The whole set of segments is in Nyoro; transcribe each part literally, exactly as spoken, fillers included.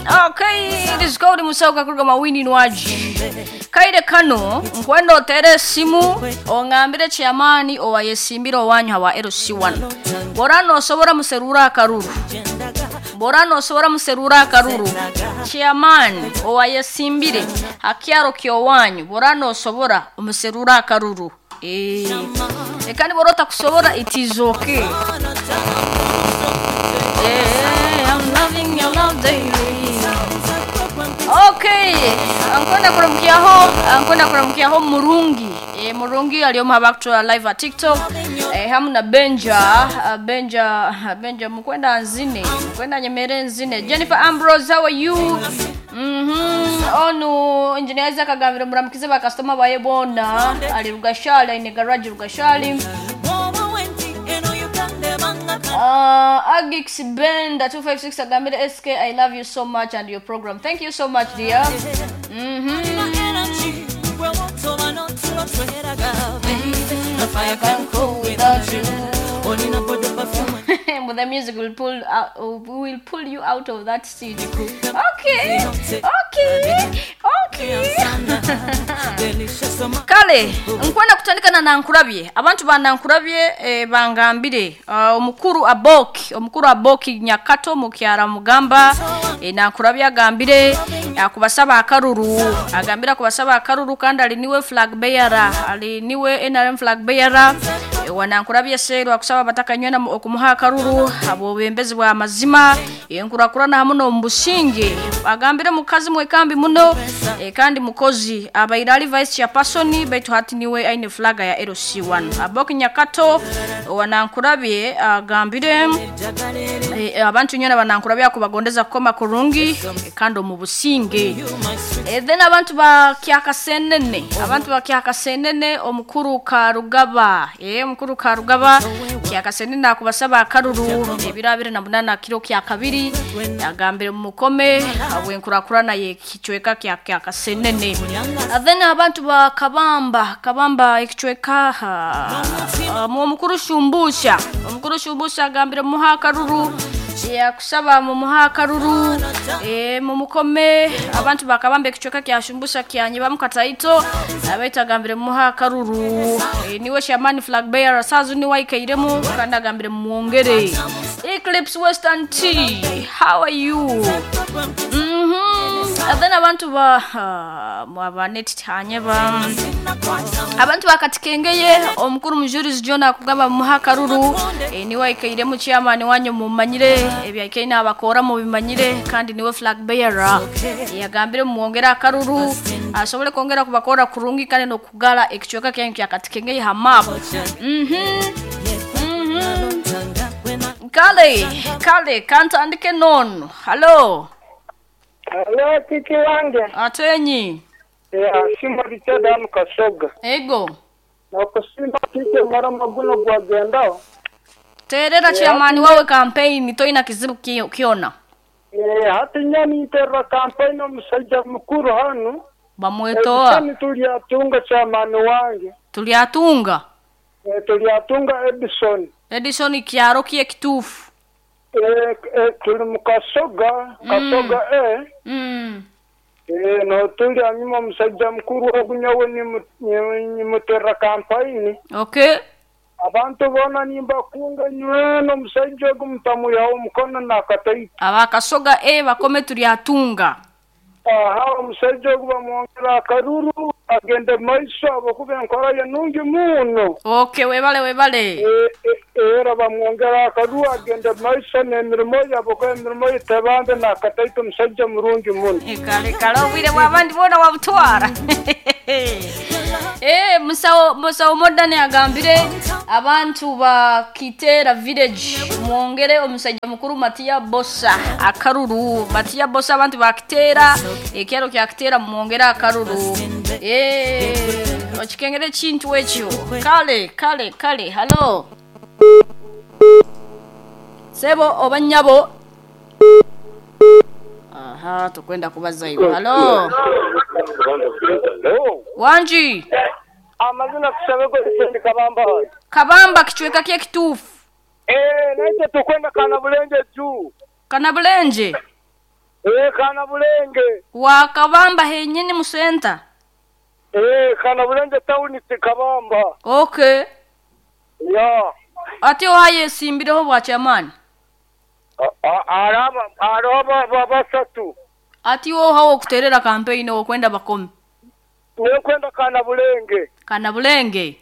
Okay, it is called Musauka kuruga mawini nwaji. Kaire kano nkwenda otere esimu ongambire chairman owayesimbira owanyu hawa L C one. Bora nosobora muserura akaruru. Bora nosobora muserura akaruru. Chairman owayesimbire hakyaro kyowanyu bora nosobora umuserura akaruru. Eh. Ekani borota kusobora it is okay. Yeah, I'm loving your love daily. Okay, ankwenda kuramkiaho, ankwenda kuramkiaho Murungi. E, Murungi alioma back to live at TikTok. E, hamu na Benja, Benja, Benja mkwenda nzine, mkwenda nyemere nzine. Jennifer Ambrose, how are you? Mhm. Onu engineer Isaac agambira muramkize ba customer baye bona ali Rugashali ine garage Rugashali. Uh, Agix Benda two five six agambira S K, I love you so much and your program. Thank you so much, dear. Mhm. But the music will pull out, will pull you out of that seat. Okay, okay, okay. Kale, nkwenda kutandika na Nankurabye. Abantu ba Nankurabye eh, bangambire uh, omukuru Aboki, omukuru Aboki Nyakato mukyara mugamba eh, Nankurabye agambire akubasaba akaruru, agambira kubasaba akaruru kandi ali niwe flag bearer, ali niwe N R M flag bearer. E, wanankurabye seru akusaba batakanywe okumuha akaruru abo bembezi bwa mazima enkurakurana hamwe no mbusinge agambire mukazi mwekambi muno e, kandi mukozi abairali vice chairperson baitu hati niwe aine flag ya L C one Aboki Nyakato wanankurabye agambire e, abantu nyona banankurabye akubagondeza kukoma kurungi e, kandi mu businge e, then abantu ba Kyakasenene abantu ba Kyakasenene omukuru Karugaba e, omukuru Karugaba Kyakasenene akubasaba akaruru ebirabire na munana kiro kya kabiri agambire mukome abwenkurakurana ye kichweka kya Kyakasenene. Then abantu ba Kabamba Kabamba ikichweka uh, omukuru Shumbusha omukuru Shumbusha agambire muha akaruru ya kusaba mu muha akaruru e, mu mukome abantu bakabambe kichweka kya Shumbusha kyanyiba mukataito abaita agambire muha akaruru e, niwe Shaman flag bearer sazu ni waikairemu kandi agambire muongere. Eclipse Western T, how are you? Mhm. And then abantu ba uh, abanet tanyeba abantu bakatikengeye omukuru Mujurizi John akugamba muha akaruru e, niwe ikairemu chairman wanyu mumanyire ebyaikaina abakora mu bimanyire kandi niwe flag bearer e, yagambire muongera akaruru asobole kongera kubakora kurungi kandi no kugala ekichweka kyanyu kyakatikengeye ha map. Mhm. Mhm. Kale, kale kantandike non. Hello. Hello, kiki wange. Atenyi. Yeah, simba Richard anu Kasoga. Ego. Nakusimba kiki mara maguno gwagenda. Terera chairman wawe campaign toina kizibu kiona. Eh, hati nyani interra campaign omusajja mukuru hanu. Bamwetoa. Eh, tuliatunga chairman wange. Tuliatunga. Eh, tuliatunga Edison. Edison kyaro kiye kitufu. Eh, eh, tuli mukasoga, Kasoga mm. eh. Mm. Eh, no tuli anyuma musajja mukuru ogunyawe ni mutera campaign. Okay. Abantu bona nimba kunga nyweno musajja gumutamu yawo mukono nakataito. Abakasoga eh bakome tuliatunga. Aha, omusajja ogu bamwongera akaruru agende maiso abokuba enkora ye nungi muno. Okay, webale webale. E, e, era bamwongera akaruru agende maiso n'emirimo ye abokuba emirimo ye tebambe nakataito omusajja murungi muno. E, kale kale obwire bw'abandi bona wabutwara. Eh, musawo musawo modern agambire abantu ba Kitera village mwongere omusajja mukuru Matia Bosa akaruru. Matia Bosa abantu ba Kitera ekyaro kya Kitera mwongere akaruru. Eh, okikengere kintu ekyo. Kale kale kale hello. Sebo obanyabo. Aha, tukwenda kubaza hiyo. Hello. Wanji. Amazina kusabego sendi Kabamba. Kabamba kichweka kye kitufu. Eh, naite tukwenda kana bulenje juu. Kana bulenje. Eh kana Bulenge. Wa Kabamba henyini mu center. Eh kana Bulenge town Kabamba. Okay. Ya. Ati ohaye simbireho bwa chairman. Araba araba basatu. Ati woha okuterera campaign okwenda bakome. Nekwenda kana Bulenge. Kana Bulenge.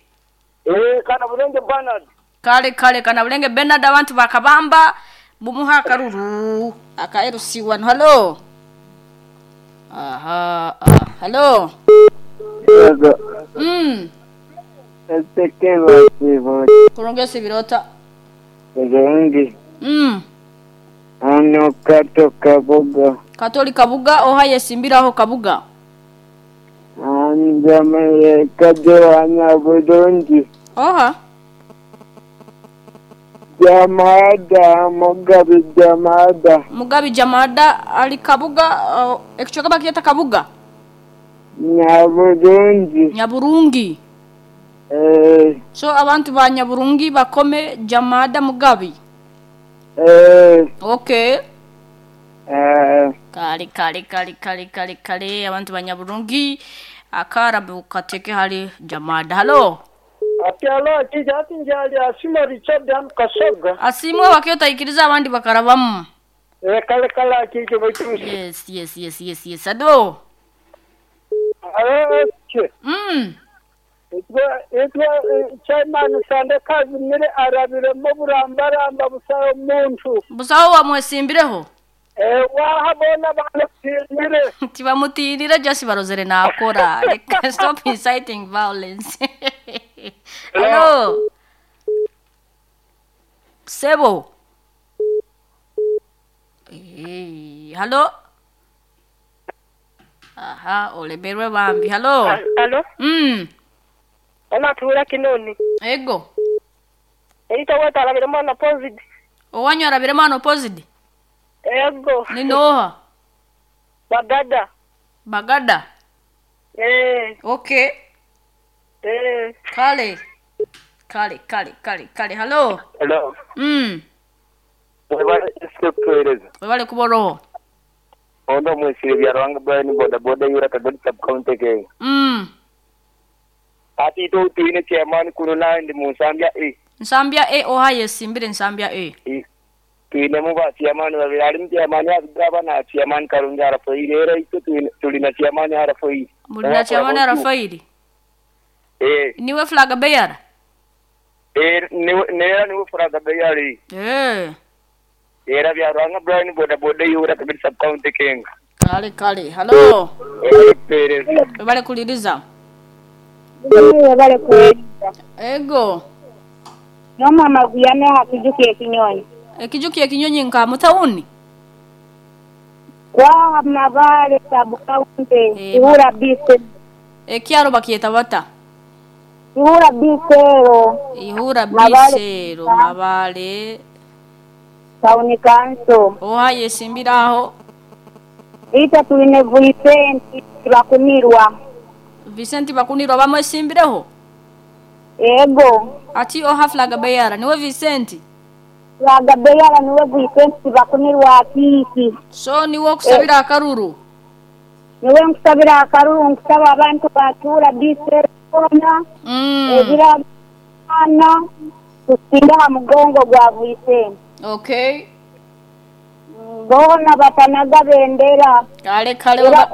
Eh kana Bulenge Bernard. Kale kale kana Bulenge Bernard abantu bakabamba bumuha karuru aka L C one. Hello. Aha, ah, hello. Yego. Mm. Etekelo sibo. Kurongesa birota. Bulungi. Mm. Ano kato Kabuga. Katoli Kabuga ohaye simbiraho Kabuga. Anjameye kajo Bulungi. Oha. Jamada Mugabi Jamada. Mugabi Jamada ali Kabuga uh, ekichokaba kieta Kabuga. Nyaburungi. Nyaburungi. Eh. So abantu ba Nyaburungi bakome Jamada Mugabi. Eh. Okay. Eh. Kale kale kale kale kale kale abantu ba Nyaburungi akarabu kateke hali Jamada. Hello. Ati alo kijati njali asima Richard am Kasoga. Asimwe wakiota ikiriza abandi bakarabamu. Eh kale kale akije baitu. Yes yes yes yes yes. Ado. Alo. Mm. Etwa etwa chairman sande kazi mire arabire mo burambaramba busayo omuntu. Busawo wamwesimbireho. Eh wahabona banatinire. Tibamutinire just barozere nakora. Stop inciting violence. Hello. Sebo. Eh, hello. Aha, oleberwe bambi. Hello. Hello. Mm. Ona tura kinoni. Ego. Eita wata arabire mwana positive. Owanyu arabire mwana positive. Ego. Ninoha. Bagada. Bagada. Eh. Okay. Eh. Kale. Kale kale kale kale. Hello. Hello. Mm. Webale kutueleza. Webale kuboroho. Ondo mwesire bya Rwanga Brian boda boda yura Kagadi sub county ke. Mm. Ati to tuine chairman kuno na ndi Nsambya A. Nsambya A ohaye simbire Nsambya A. E. Tuine mu ba chairman babiri ali chairman abigaba na chairman Karungi Rafael era ito tulina chairman Rafael. Mulina chairman Rafael. Eh. Niwe flag bearer. Eh niwe nera niwe flag bearer. Eh. Era bya Rwanga Brian boda boda yura Kagadi sub county kenga. Kale kale. Hello. Eh. Webale kuliriza. Webale kuliriza. Ego. No mama guyame hakijuki ekinyonyi. Ekijuki ekinyonyi nka mutauni. Kwa mabale sub county ihura bise. Ekyaro bakiyeta bata. Ihura bisero. Ihura bisero mabale. Town council. Ohaye simbiraho. Ita tuline Vicente Bakunirwa. Vicente Bakunirwa bamwe simbireho. Ego. Ati oha flag bearer niwe Vicente. Flag bearer niwe Vicente Bakunirwa akiki. So niwe okusabira akaruru. Niwe nkusabira akaruru nkusaba abantu batura bisero ona. Mm. Ebira ana tusinda mugongo gwa Vicente. Okay. Bona batanaga bendera. Kale kale weba.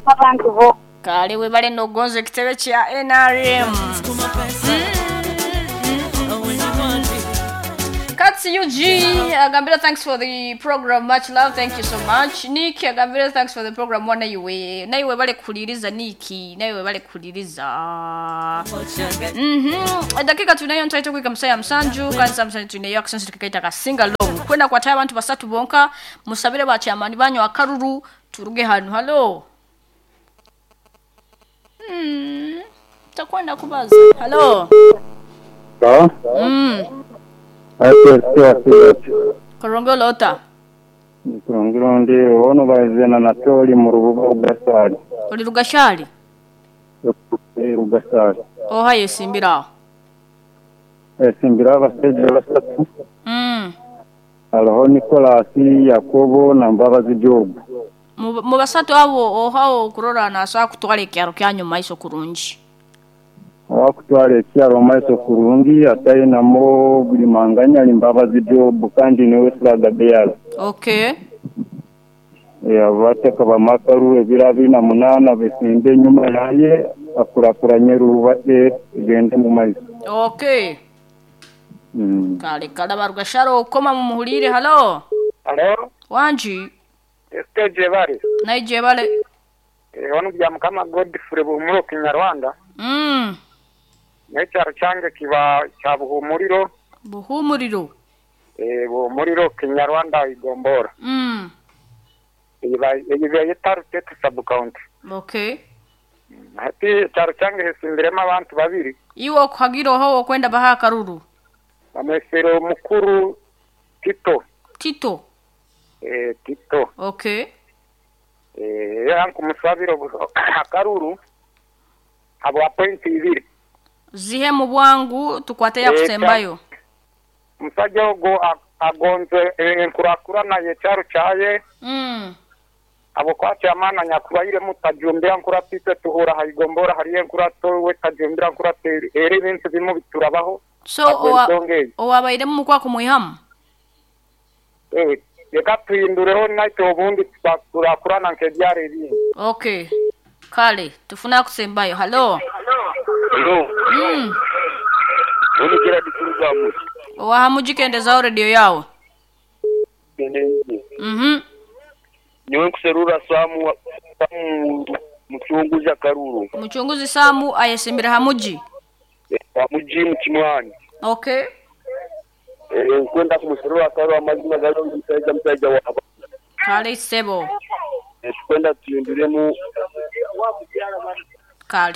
Abantu bo. Kale webale nogonze ekitebe kya N R M. Katsi U G agambira thanks for the program, much love, thank you so much. Nick agambira thanks for the program, wana iwe naiwe bale kuliriza Niki naiwe bale kuliriza. Mhm. Dakika tunayo ntaito kuika msaya msanju kansa msanju tunayo aksensi tukaita kasinga long kwenda kwa taya abantu basatu bonka musabire ba chairman banyu akaruru turuge hanu. Hello. Mm. Takwenda kubaza. Hello. Sawa? Mm. Korongolo ota. Korongolo ndi ono baizena na tori mu rubuga Rugashari. Oli Rugashari? Rugashari. Ohaye simbira. Eh simbira abasajja basatu. Mm. Hariho Nikolasi, Yakobo na Mbabazi Jobu. Mu mu basatu abo ohawo okurora nasobola kutwara ekyaro kyanyu maiso kurungi. Owakutwara ekyaro maiso kurungi atainamo buli manganya ali Mbabazi Jobu kandi niwe flag bearer. Okay. Abateka bamakaru ebiro abiri na munaana besimbe enyuma yaye akurakuranye rubate egende mu maiso. Okay. Mm. Kale kale barugasharo okoma mumuhulire. Halo. Halo, Wanji. Esteje bari. Naije bale. Ono bya Mukama Godfrey Buhumuro Kinyarwanda. Mm. N'ekyaro kyange kiba kya Buhumuriro, Buhumuriro. eh Buhumuriro Kinyarwanda Igombora. Mm. Iba iba yetaru tetu sub county. Okay. Hati ekyaro kyange hesimbiremu abantu babiri. Iwe okuhagira oho okwenda baha akaruru. Bamwesero mukuru Tito, Tito. eh Tito. Okay. Eh era nkumusabira akaruru habwa point ibiri. Zihe mu bwangu tukwate Eh, yakusembayo. Omusajja ogwo a- agonze enkurakurana y'ekyaro kyaye Mm. abo kwakyamaana nyakubairemu tajumbira nkuratwite tuhura haigombora hariyo enkurato we tajumbira nkurate era ebintu bimu biturabaho So owa ensonga eyo owabairemu mukwa kumwihamu. Eh, reka tuhindureho naitwe obundi turakurana nk'ebyaro ebindi. Okay. Kale tufuna kusembayo. Halo. Hello. Mm. Ono Gerard Kurugamu. Owahamujikendezao radio yawe. Genenje. Mhm. Niwe nkuserura Samu Samu muchunguzi akaruru. Muchunguzi Samu ayesimbira hamuji. Hamuji mukimwani. Okay. Eh nkwenda kumuserura akaruru amazima galo musajja musajja wa. Kale sebo. Tukwenda tuhinduremu Kale.